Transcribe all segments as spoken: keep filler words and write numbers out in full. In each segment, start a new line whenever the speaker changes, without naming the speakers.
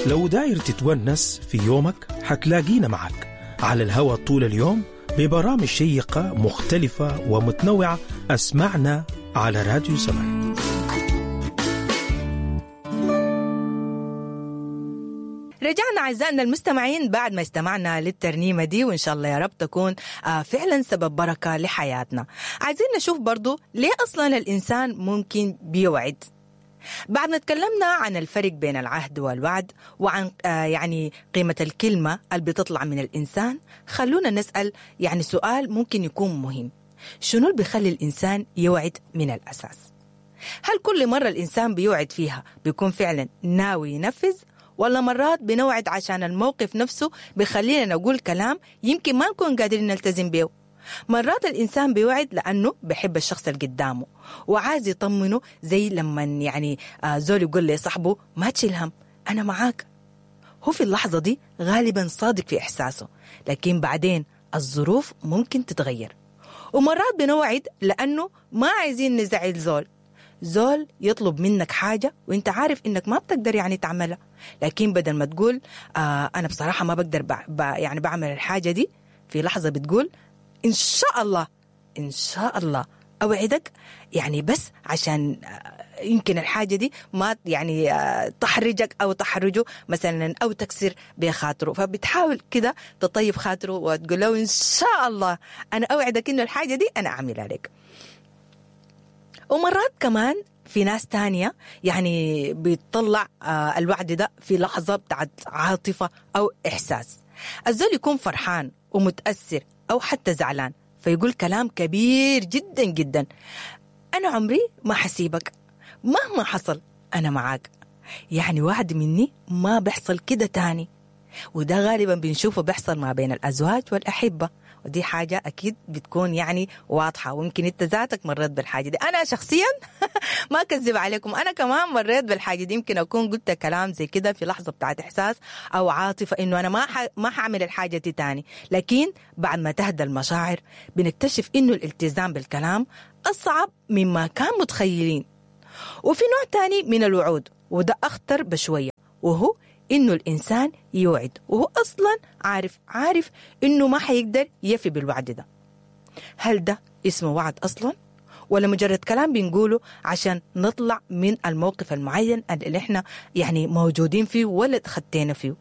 لو داير تتونس في يومك حتلاقينا معك على الهوا طول اليوم ببرامج شيقة مختلفة ومتنوعة. أسمعنا على راديو سمر.
رجعنا أعزائنا المستمعين بعد ما استمعنا للترنيمة دي، وإن شاء الله يا رب تكون فعلا سبب بركة لحياتنا. عايزين نشوف برضو ليه أصلا الإنسان ممكن بيوعد. بعد ما تكلمنا عن الفرق بين العهد والوعد وعن آه يعني قيمة الكلمة اللي بتطلع من الإنسان، خلونا نسأل يعني سؤال ممكن يكون مهم: شنو اللي بيخلي الإنسان يوعد من الأساس؟ هل كل مرة الإنسان بيوعد فيها بيكون فعلا ناوي ينفذ، ولا مرات بنوعد عشان الموقف نفسه بيخلينا نقول كلام يمكن ما نكون قادرين نلتزم به؟ مرات الإنسان بيوعد لأنه بحب الشخص اللي قدامه وعايز يطمنه، زي لما يعني زول يقول لصاحبه ما تشيل هم أنا معاك. هو في اللحظة دي غالبا صادق في إحساسه، لكن بعدين الظروف ممكن تتغير. ومرات بنوعد لأنه ما عايزين نزعل زول، زول يطلب منك حاجة وانت عارف انك ما بتقدر يعني تعملها، لكن بدل ما تقول آه أنا بصراحة ما بقدر يعني بعمل الحاجة دي، في لحظة بتقول إن شاء الله إن شاء الله أوعدك، يعني بس عشان يمكن الحاجة دي ما يعني تحرجك أو تحرجه مثلا أو تكسر بخاطره، فبتحاول كده تطيب خاطره وتقول له إن شاء الله أنا أوعدك إنه الحاجة دي أنا أعملها لك. ومرات كمان في ناس تانية يعني بيطلع الوعد ده في لحظة بتاعت عاطفة أو إحساس. الزول يكون فرحان ومتأثر أو حتى زعلان فيقول كلام كبير جدا جدا: أنا عمري ما حسيبك، مهما حصل أنا معاك، يعني وعد مني ما بيحصل كده تاني. وده غالبا بنشوفه بيحصل ما بين الأزواج والأحبة، ودي حاجة أكيد بتكون يعني واضحة، ويمكن أنت ذاتك مريت بالحاجة دي. أنا شخصيا ما أكذب عليكم، أنا كمان مريت بالحاجة دي، يمكن أكون قلت كلام زي كده في لحظة بتاعت إحساس أو عاطفة إنه أنا ما ح... ما حعمل الحاجة دي تاني، لكن بعد ما تهدى المشاعر بنكتشف إنه الالتزام بالكلام أصعب مما كان متخيلين. وفي نوع تاني من الوعود، وده أخطر بشوية، وهو إنه الإنسان يوعد وهو أصلاً عارف عارف إنه ما حيقدر يفي بالوعد ده. هل ده اسمه وعد أصلاً؟ ولا مجرد كلام بنقوله عشان نطلع من الموقف المعين اللي إحنا يعني موجودين فيه ولا تخطينا فيه؟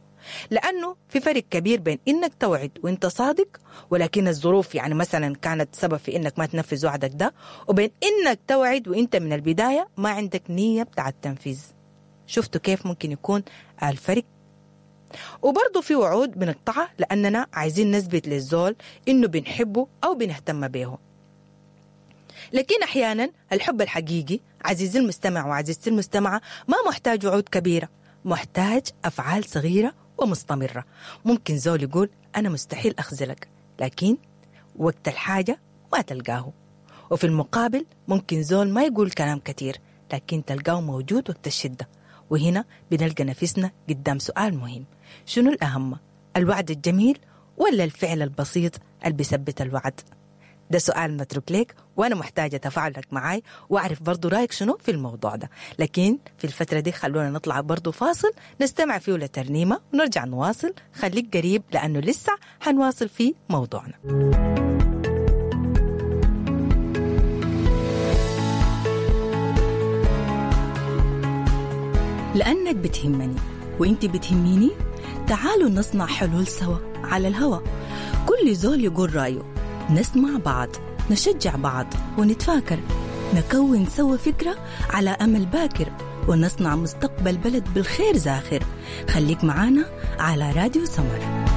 لأنه في فرق كبير بين إنك توعد وإنت صادق ولكن الظروف يعني مثلا كانت سبب في إنك ما تنفذ وعدك ده، وبين إنك توعد وإنت من البداية ما عندك نية بتاع التنفيذ. شفتوا كيف ممكن يكون الفرق؟ وبرضه في وعود بنقطعها لأننا عايزين نثبت للزول إنه بنحبه أو بنهتم به. لكن أحيانا الحب الحقيقي عزيزي المستمع وعزيزتي المستمعة ما محتاج وعود كبيرة، محتاج أفعال صغيرة ومستمرة. ممكن زول يقول أنا مستحيل أخذلك، لكن وقت الحاجة ما تلقاه. وفي المقابل ممكن زول ما يقول كلام كتير لكن تلقاه موجود وقت الشدة. وهنا بنلقى نفسنا قدام سؤال مهم: شنو الأهم، الوعد الجميل ولا الفعل البسيط اللي بيثبت الوعد؟ ده سؤال متروك لك، وأنا محتاجة تفاعلك معاي وأعرف برضو رأيك شنو في الموضوع ده. لكن في الفترة دي خلونا نطلع برضو فاصل نستمع فيه لترنيمة ونرجع نواصل. خليك قريب لأنه لسه حنواصل في موضوعنا.
لأنك بتهمني وإنت بتهميني، تعالوا نصنع حلول سوا على الهوا. كل زول يقول رأيه، نسمع بعض، نشجع بعض، ونتفاكر، نكون سوا فكرة على أمل باكر، ونصنع مستقبل بلد بالخير زاخر. خليك معانا على راديو سمر.